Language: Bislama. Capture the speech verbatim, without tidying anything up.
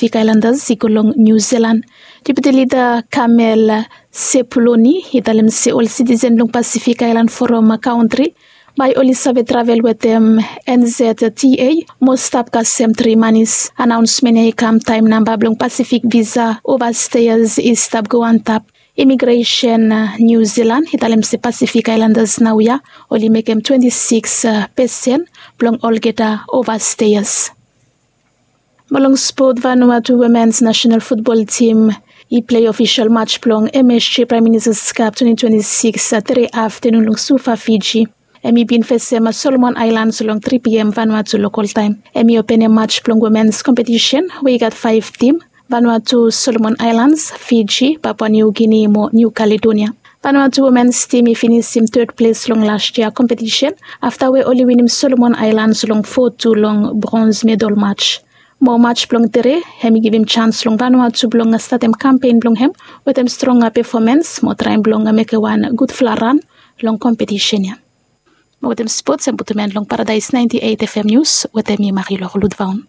Pasifik Ailandas i go long Niu Zilan. Depiti lida Kamel Sepuloni i talem se ol sitisen blong Pasifik Ailan Foram kantri bae oli save travel wetem N Z T A mo stap kasem tri manis. Anaonsmen ya i kam taem namba blong Pasifik visa ovasteas i stap go antap. Imigresen Niu Zilan i talem se Pasifik Ailandas naoia oli mekem twenti sikis pesen blong olgeta ovasteas. Mo long spot, Vanuatu Womens Nasenal Futbol Tim i plei ofisol mats blong M S G Praem Ministas Kap twenti twenti sikis tere aftenun long Suva, Fiji. Hem i bin fesem Solomon Aelans long tri P M Vanuatu lokol taem. Hem i openem mats blong womens kompetisen we i gat faef tim, Vanuatu, Solomon Aelans, Fiji, Papua Niu Gini mo Niu Kaledonia. Vanuatu womens tim i finisim ted ples long las yia kompetisen afta we oli winim Solomon Aelans long fo tu long brons medal mats. Mo mats blong tere hem i givim jans long Vanuatu blong statem kampen blong hem wetem stronga pefomens mo traem blong mekem wan gudfala ran long kompetisen ya. Mo wetem spots hem putum en long Paradaes naenti eit F M nius wetem mi, Marilor Ludvaon.